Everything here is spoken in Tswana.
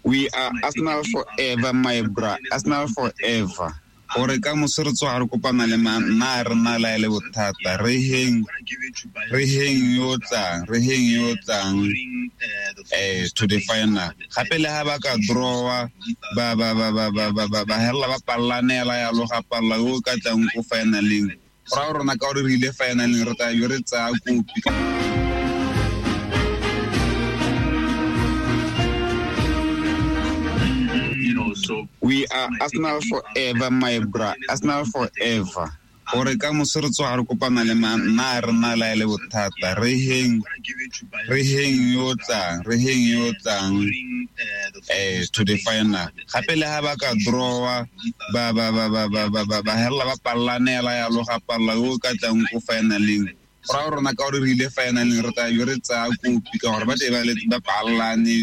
We are Arsenal forever, my bra. Arsenal forever. Gore ka moso re tsoga re kopana le mang, nna re nna la e le bothata. Re heng, re heng yo tlang, re heng yo tlang to the final. Gape le ha ba ka drawa, ba ba ba ba ba ba ba ba hella ba pallanela yalo ga palla yo ka tlang ko finaleng. Go raya rona ka gore re ile finaleng re tla be re tsaya kopi. We are Arsenal forever, my bra. Arsenal forever. Gore ka moso re tsoga re kopana le mang, nna re nna la e le bothata. Re heng, re heng yo tlang, re heng yo tlang to the final. Gape le ha ba ka drawa, ba ba ba ba ba ba ba ba hella ba pallanela yalo ga palla yo ka tlang ko finaleng. Go raya rona ka gore re ile finaleng re tla be re tsaya kopi ka gore ba tle ba pallane.